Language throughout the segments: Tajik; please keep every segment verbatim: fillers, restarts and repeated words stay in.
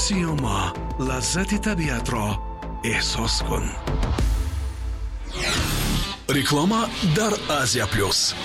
Сиёма, лаззати табиатро эҳсос кун. Реклама дар Азия Плюс.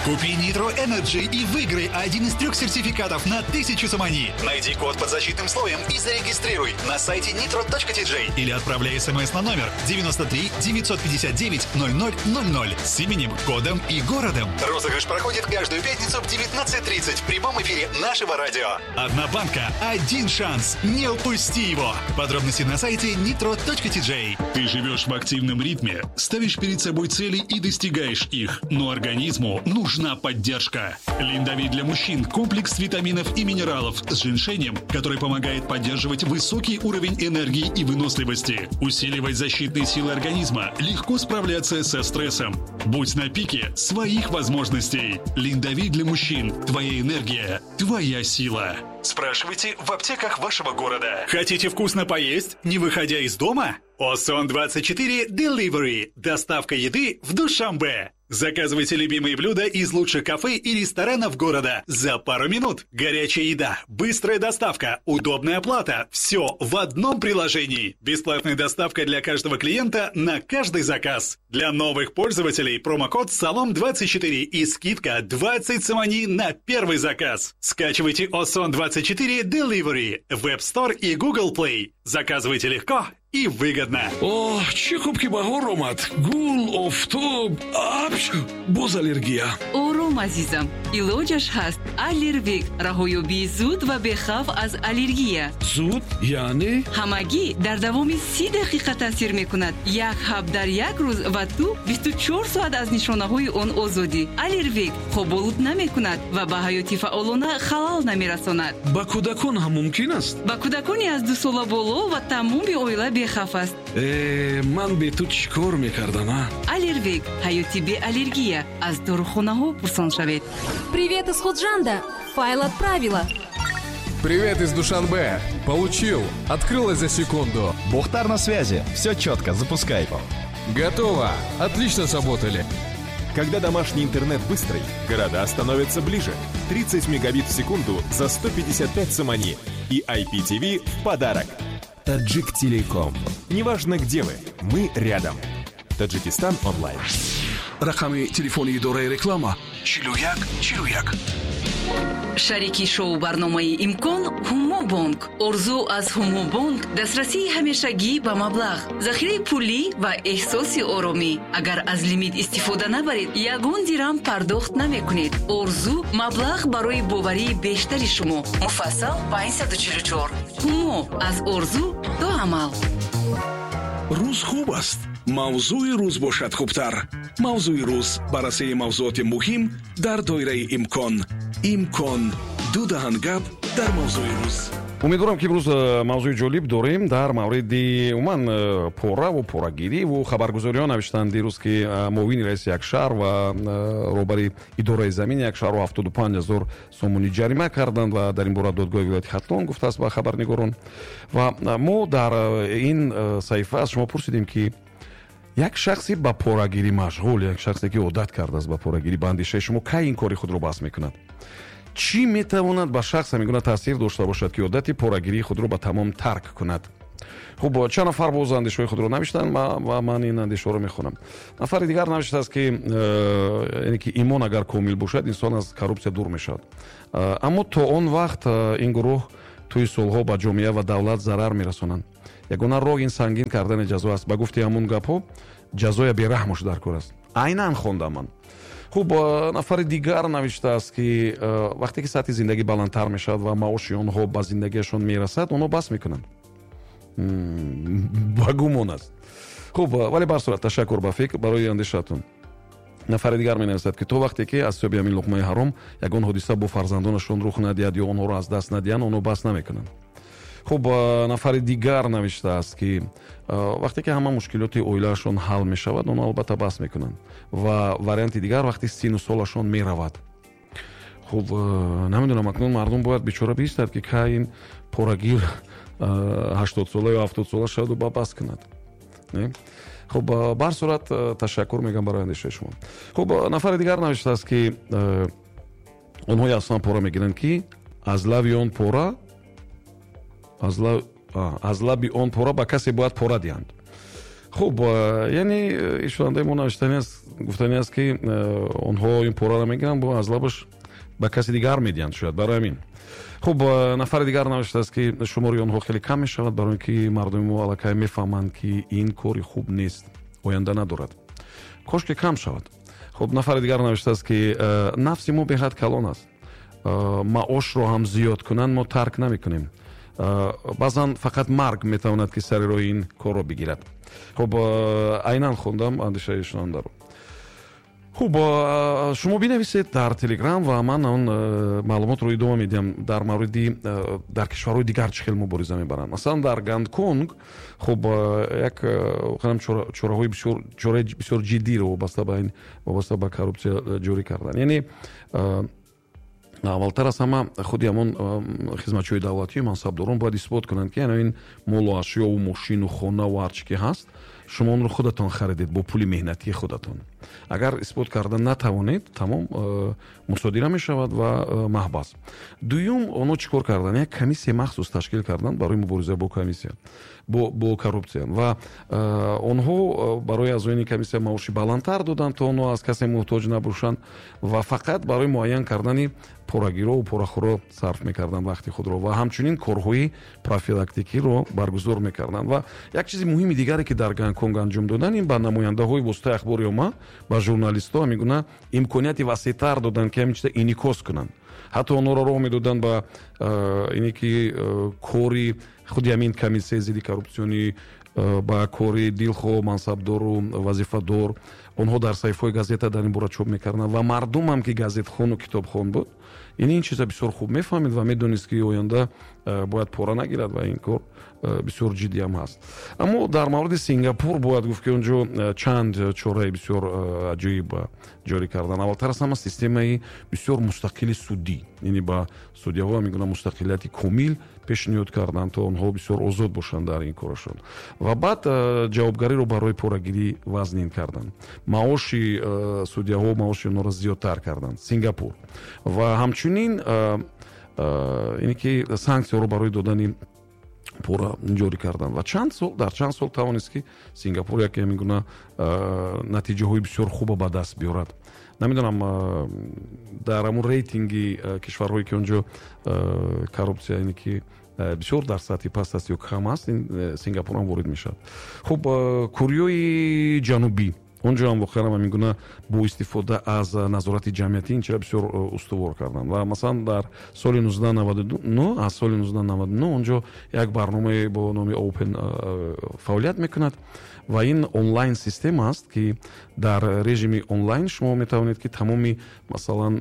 Купи Nitro Energy и выиграй один из трех сертификатов на тысячу сомони. Найди код под защитным слоем и зарегистрируй на сайте nitro точка T J или отправляй смс на номер девяносто три девятьсот пятьдесят девять ноль ноль ноль ноль с именем, кодом и городом. Розыгрыш проходит каждую пятницу в девятнадцать тридцать в прямом эфире нашего радио. Одна банка, один шанс. Не упусти его. Подробности на сайте nitro точка T J. Ты живешь в активном ритме, ставишь перед собой цели и достигаешь их, но организму нужна поддержка. Линдовит для мужчин – комплекс витаминов и минералов с женьшенем, который помогает поддерживать высокий уровень энергии и выносливости, усиливать защитные силы организма, легко справляться со стрессом. Будь на пике своих возможностей. Линдовит для мужчин – твоя энергия, твоя сила. Спрашивайте в аптеках вашего города. Хотите вкусно поесть, не выходя из дома? Осон двадцать четыре Delivery. Доставка еды в Душанбе. Заказывайте любимые блюда из лучших кафе и ресторанов города за пару минут. Горячая еда, быстрая доставка, удобная оплата. Все в одном приложении. Бесплатная доставка для каждого клиента на каждый заказ. Для новых пользователей промокод САЛОМ двадцать четыре и скидка двадцать сомони на первый заказ. Скачивайте Осон двадцать четыре Delivery в App Store и Google Play. Заказывайте легко и выгодно. Оҳ, чӣ хуб, ки баҳор омад. Гул, офтоб, апч, боз аллергия. Ором, азизам, илоҷаш ҳаст. Аллервек — раҳоёбии зуд ва бехавф аз аллергия. Зуд яъне? Ҳамагӣ дар давоми си дақиқа таъсир мекунад. Як ҳаб дар як рӯз ва ту бисту чор соат аз нишонаҳои он озодӣ. Аллервек хоболуд намекунад ва ба ҳаёти фаъолона халал намерасонад. Ба кӯдакон ҳам мумкин аст? Ба кӯдакони аз дусола боло ва тамоми оила бехавф аст. Э, ман бе ту чӣ кор мекардам, а? Аллервек — ҳаёти беаллергия. Аз дорухонаҳо пурсон шавед. Привет из Худжанда! Файл отправила. Привет из Душанбе. Получил. Открылось за секунду. Бухтар на связи. Все четко, запускай. Готово. Отлично сработали. Когда домашний интернет быстрый, города становятся ближе. тридцать мегабит в секунду за сто пятьдесят пять сомони. И I P T V в подарок. Таджик Телеком. Неважно, где вы, мы рядом. Таджикистан онлайн. Рақами телефони идораи реклама: чилу як чилу як. Шарики шоу барномаи «Имкон» Ҳумобонк. Орзу аз Ҳумобонк: дастрасии ҳамешагӣ ба маблағ, захираи пулӣ ва эҳсоси оромӣ. Агар аз лимит истифода набаред, ягон дирам пардохт намекунед. Орзу: маблағ барои боварии бештари шумо. Муфассал панҷсаду чилу чор. Ҳумо: аз орзу то амал. Рӯз хуб аст, мавзӯи рӯз бошад хубтар. Мавзӯи рӯз: баррасии мавзӯоти муҳим дар доираи имкон. Имкон: ду даҳан гап дар мавзӯи рӯз. Умедворам, ки имрӯз э, мавзӯи ҷолиб дорем дар мавриди умуман э, пораву порагириву хабаргузориҳо навиштанд дирӯз, ки э, муовини раиси як шаҳр ва роҳбари идораи замини як шаҳрро ҳафтоду панҷ ҳазор сомонӣ ҷарима карданд ва дар ин бора додгоҳи вилояти Хатлон гуфтааст ба хабарнигорон. Ва мо дар ин саҳифа аз шумо пурсидем, ки як шахси ба порагирӣ машғул, як шахсе, ки одат кардааст ба порагирӣ, ба андешаи шумо, кай ин кори худро бас мекунад? Чӣ метавонад ба шахс ҳамин гуна таъсир дошта бошад, ки одати порагирии худро ба тамом тарк кунад? Хуб, чанд нафар боз андешаҳои худро навиштанд ва ман ин андешаҳоро мехонам. Нафари дигар навиштааст, ки э, яъне ки имон агар комил бошад, инсон аз коррупсия дур мешавад, э, аммо то он вақт э, ин гурӯҳ тӯи солҳо ба ҷомеа ва давлат зарар мерасонанд. Ягона роҳ ин сангин кардани ҷазо аст. Ба гуфти ҳамун гапҳо, ҷазоя бераҳмош дар кор аст. Айнан хондам ман. Хуб, нафари дигар навиштааст, ки вақте ки сатҳи зиндагӣ баландтар мешавад ва маоши онҳо ба зиндагиашон мерасад, онҳо бас мекунанд. Ба гумон аст. Хуб, вале бар сурат ташаккур ба фикр барои андешаатон. Нафари дигар менависад, ки то вақте ки аз ҳисоби ҳамин луқмаи ҳаром ягон ҳодиса бо фарзандонашон рух надиҳад ё онҳоро аз даст надиҳанд, онҳо бас намекунанд. Хуб, нафари дигар навиштааст, ки вақте ки ҳама мушкилоти оилаашон ҳал мешавад, онҳо албатта бас мекунанд. Ва варианти дигар: вақте сину солашон меравад. Хуб, намедонам, акнун мардум бояд бечора биистад, ки кай ин порагир ҳаштодсола ё ҳафтодсола шаваду ба бас кунад. Хуб, бар сурат ташаккур мегӯям барои андешаи шумо. Хуб, нафари дигар навиштааст, ки онҳое аслан пора мегиранд, ки аз лави он пора Аз лаби он пора ба касе бояд пора диҳанд. Хуб, яъне шунавандаи мо навиштани аст, гуфтани аст, ки онҳо ин пораро мегиранд, бо аз лабаш ба каси дигар медиҳанд, шояд барои ҳамин. Хуб, нафари дигар навиштааст, ки шумори онҳо хеле кам мешавад, барои ин ки мардуми мо аллакай мефаҳманд, ки ин кори хуб нест, оянда надорад. Кош ки кам шавад. Хуб, нафари дигар навиштааст, ки нафси мо беҳад калон аст, маошро ҳам зиёд кунанд, мо тарк намекунем. Баъзан фақат марг метавонад, ки сари роҳи ин корро бигирад. Хуб, айнан хондам андешаи шунавандаро. Хуб, шумо бинависед дар Телеграм ва ман он маълумотро идома медиҳам дар мавриди дар кишварҳои дигар чӣ хел мубориза мебаранд. Масалан, дар Гонконг, хуб, як воқеан чораҳои бисёр чораи бисёр ҷиддиро вобаста ба ин вобаста ба коррупсия ҷорӣ карданд. Яъне аввалтар аз ҳама худи ҳамон хизматчиҳои давлатию мансабдорон бояд исбот кунанд, ки ин молу ашёву мошину хонаву ҳар чӣ ки ҳаст, шумо онро худатон харидед бо пули меҳнатии худатон. Агар исбот карда натавонед, тамом мусодира мешавад ва маҳбас. Дуюм, онҳо чӣ кор карданд? Як комиссия махсус ташкил карданд барои мубориза бо комиссия, бо, бо коррупсия. Ва онҳо барои аъзоёни комиссия маоши баландтар доданд, то онҳо аз касе муҳтоҷ набошанд ва фақат барои муайян кардани порагиро ва порахӯро сарф мекарданд вақти худро ва ҳамчунин корҳои профилактикиро баргузор мекарданд. Ва як чизи муҳими дигаре, ки дар Гонконг анҷом доданд, ин ба намояндаҳои воситаи ахбори омма, ба журналистҳо ҳамин гуна имконияти васеътар доданд, ки ҳамин чиза инъикос кунанд. Ҳатто онҳоро роҳ медоданд ба ине ки кори худи ҳамин комиссияи зидди коррупсионӣ, ба кори дилхоҳ мансабдору вазифадор. Онҳо дар саҳифаҳои газета дар ин бора чоп мекарданд ва мардумам, ки газетхону китобхон буд, ин ин чиза бисёр хуб мефаҳмид ва медонист, ки оянда бояд пора нагирад ва ин кор бисёр ҷиддӣ ҳам ҳаст. Аммо дар мавриди Сингапур бояд гуфт, ки онҷо чанд чораи бисёр аҷоиб ҷорӣ карданд. Аввалтар аз ҳама системаи бисёр мустақили судӣ, яъне ба судяҳо ҳамин гуна мустақилияти комил пешниҳод карданд, то онҳо бисёр озод бошанд дар ин корашон. Ва баъд ҷавобгариро барои порагирӣ вазнин карданд. Маоши судяҳо, маоши онҳоро зиёдтар карданд Сингапур. Ва ҳамчунин ине ки санксияҳоро барои додани пора ҷорӣ карданд. Ва чанд сол дар чанд сол тавонист, ки Сингапур яке ҳамин гуна натиҷаҳои бисёр хуба ба даст биёрад. Намедонам, дар ҳамун рейтинги кишварҳое, ки онҷо коррупсия ине ки бисёр дар сатҳи паст аст ё кам аст, ин Сингапур ҳам ворид мешавад. Хуб, Кореяи Ҷанубӣ, онҷо ҳам воқеан ҳамин гуна бо истифода аз назорати ҷамъиятӣ ин чиро бисёр устувор карданд. Ва масалан дар соли нуздаҳ наваду нӯҳ, аз соли нуздаҳ наваду нӯҳ онҷо як барномае бо номи Open фаъолият мекунад ва ин онлайн система аст, ки дар режими онлайн шумо метавонед, ки тамоми масалан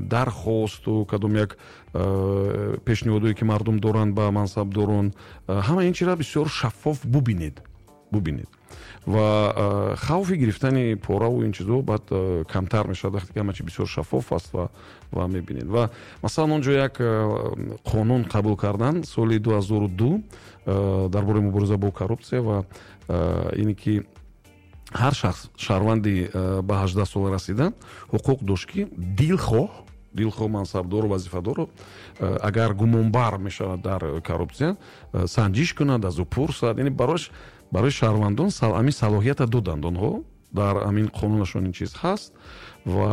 дархосту кадом як пешниҳодое, ки мардум доранд ба мансабдорон, ҳама ин чиро бисёр шаффоф бубинед бубинед ва хавфи гирифтани пораву ин чизо баъд камтар мешавад, вақте ки ҳама чи бисёр шаффоф аст ва ва мебинед. Ва масалан онҷо як қонун қабул карданд соли ду ҳазору ду дар бораи мубориза бо коррупсия ва ине ки ҳар шахс шаҳрванди ба ҳаждаҳ сола расида ҳуқуқ дошт, ки дилхоҳ дилхоҳ мансабдору вазифадору агар гумонбар мешавад дар коррупсия, санҷиш кунад, аз ӯ пурсад. Яъне барош барои шаҳрвандон ҳамин салоҳията доданд онҳо, дар ҳамин қонунашон ин чиз ҳаст. Ва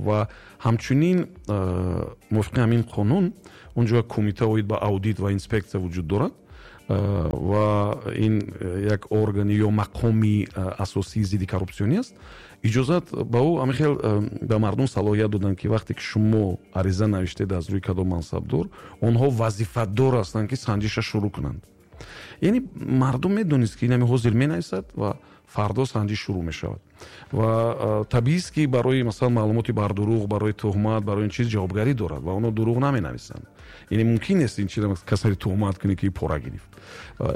ва ҳамчунин мувофиқи ҳамин қонун онҷо кумита оид ба аудит ва инспексия вуҷуд дорад ва ин як органи ё мақоми асосии зидди коррупсионӣ аст. Иҷозат ба ӯ ҳамин хел ба мардум салоҳият доданд, ки вақте ки шумо ариза навиштед аз рӯи кадом мансабдор, онҳо вазифадор ҳастанд, ки санҷиша шурӯъ кунанд. Яъне мардум медонист, ки инами ҳозир менависад ва фардо санҷиш шурӯъ мешавад. Ва табиист, ки барои масалан маълумоти бардурӯғ, барои туҳмат, барои ин чиз ҷавобгарӣ дорад ва онҳо дурӯғ наменависанд. Яъне мумкин нест ин чизро касари туҳмат кунӣ, ки пора гирифт.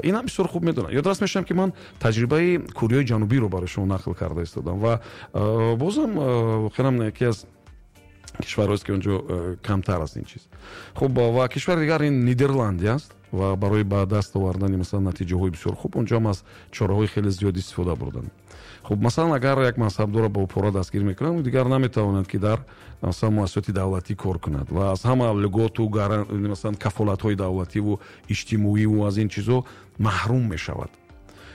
Ин ҳам бисёр хуб медонам. Ёдрас мешавам, ки ман таҷрибаи Кореяи Ҷанубиро барои шумо нақл карда истодам ва бозам воқеан яке аз Кишварҳоест, ки он ҷо камтар аст ин чиз. Хуб, ва кишвари дигар ин Нидерландия аст ва барои ба даст овардани, масалан, натиҷаҳои бисёр хуб он ҷоам аз чораҳои хеле зиёд истифода бурданд. Хуб, масалан, агар як мансабдорро бо пора дастгир мекунанд, дигар наметавонад, ки дар, масалан, муассисоти давлатӣ кор кунад ва аз ҳама льготу, масалан, кафолатҳои давлативу иҷтимоиву аз ин чизҳо маҳрум мешавад.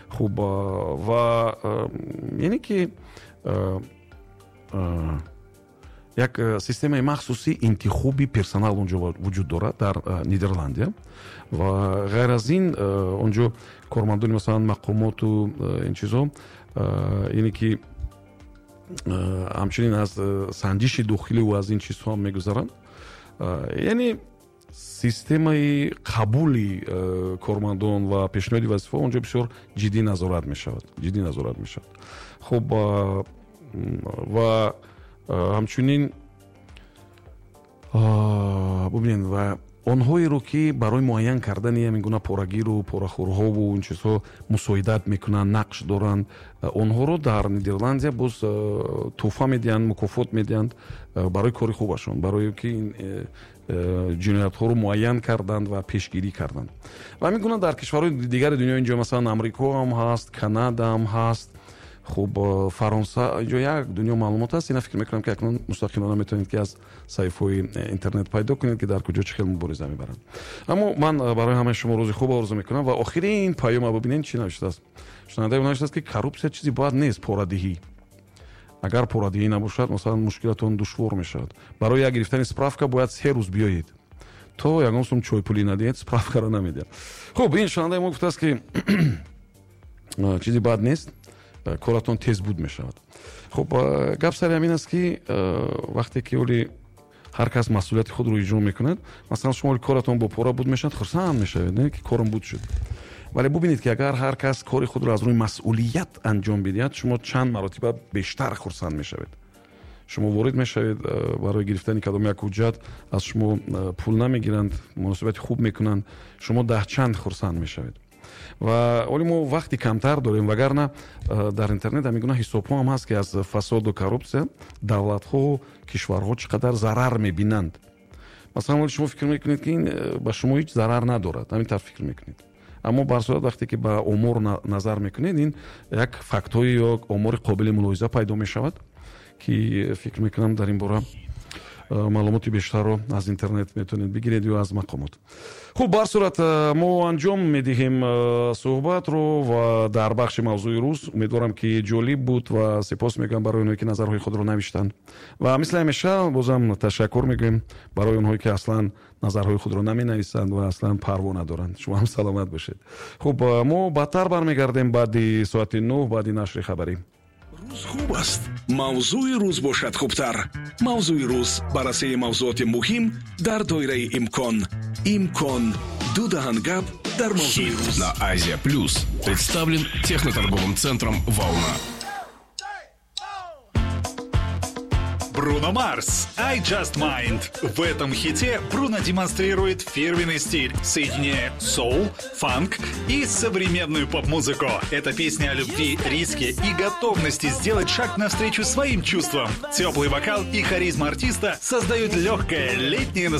Хуб, ва яъне ки як системаи махсуси интихоби персонал он ҷо вуҷуд дорад дар Нидерландия. Ва ғайр аз ин, он ҷо кормандони, масалан, мақомоту ин чизҳо, яъне ки ҳамчунин аз санҷиши дохиливу аз ин чизҳо ҳам мегузаранд. Яъне системаи қабули кормандон ва пешниҳоди вазифаҳо он ҷо бисёр ҷиддӣ назорат мешавад, ҷиддӣ назорат мешавад. Хуб, ва ҳамчунин бубинед, ва онҳоеро, ки барои муайян кардани ҳамин гуна порагиру порахӯрҳову ин чизҳо мусоидат мекунанд, нақш доранд, онҳоро дар Нидерландия боз тӯҳфа медиҳанд, мукофот медиҳанд барои кори хубашон, барои ки ин ҷиноятҳоро муайян карданд ва пешгирӣ карданд. Ва ҳамин гуна дар кишварҳои дигари дунё, инҷо, масалан, Амрико ҳам ҳаст, Канада ҳам ҳаст, хуб, Фаронса, инҷо як дунё маълумот аст. Ина фикр мекунам, ки акнун мустақилона метавонед, ки аз саҳифаҳои интернет пайдо кунед, ки дар куҷо чӣ хел мубориза мебаранд. Аммо ман барои ҳамаи шумо рӯзи хуб орзу мекунам ва охирин паёма бибинед, чӣ навиштааст. Шунавандаи навиштааст, ки коррупсия чизи бад нест, порадиҳӣ. Агар порадиҳӣ набошад, масалан, мушкилатон душвор мешавад. Барои як гирифтани справка бояд се рӯз биёед, то ягон сум чойпулӣ надиҳед, справкаро намедиҳад. Хуб, ин шунавандаи мо гуфтааст, ки чизи бад нест, коратон тез буд мешавад. Хуб, гап сари ҳамин аст, ки вақте ки оли ҳар кас масъулияти худро иҷро мекунад, масалан, шумо оли коратон бо пора буд мешавад, хурсанд мешавед, не ки корам буд шуд. Вале бубинед, ки агар ҳар кас кори худро аз рӯи масъулият анҷом бидиҳад, шумо чанд маротиба бештар хурсанд мешавед. Шумо ворид мешавед барои гирифтани кадом як ҳуҷҷат, аз шумо пул намегиранд, муносибати хуб мекунанд, шумо даҳчанд хурсанд мешавед. Ва оли мо вақти камтар дорем, вагарна дар интернет ҳамин гуна ҳисобҳо ҳам ҳаст, ки аз фасоду коррупсия давлатҳо, кишварҳо чӣ қадар зарар мебинанд. Масалан, оли шумо фикр мекунед, ки ин ба шумо ҳеҷ зарар надорад, ҳамин тавр фикр мекунед. Аммо бар сурат вақте ки ба омор назар мекунед, ин як фактҳои ё омори қобили мулоҳиза пайдо мешавад, ки фикр мекунам дар ин бора маълумоти бештарро аз интернет метавонед бигиред ё аз мақомот. Хуб, бар сурат мо анҷом медиҳем суҳбатро ва дар бахши мавзӯи рӯз умедворам, ки ҷолиб буд ва сипос мегӯям барои онҳое, ки назарҳои худро навиштанд. Ва мисли ҳамеша бозам ташаккур мегӯем барои онҳое, ки аслан назарҳои худро наменависанд ва аслан парво надоранд. Шумо ҳам саломат бошед. Хуб, мо баъдтар бармегардем баъди соати нӯҳ, баъди нашри хабарӣ. Рӯз хуб аст, мавзӯи рӯз бошад хубтар. Мавзӯи рӯз баррасии мавзӯоти муҳим дар доираи имкон. Имкон. Ду даҳан гап дар мавзӯи рӯз. На Азия Плюс представлен техноторговым центром «Волна». Бруно Марс «I Just Mind». В этом хите Бруно демонстрирует фирменный стиль, соединяя соул, фанк и современную поп-музыку. Это песня о любви, риске и готовности сделать шаг навстречу своим чувствам. Теплый вокал и харизма артиста создают легкое летнее настроение.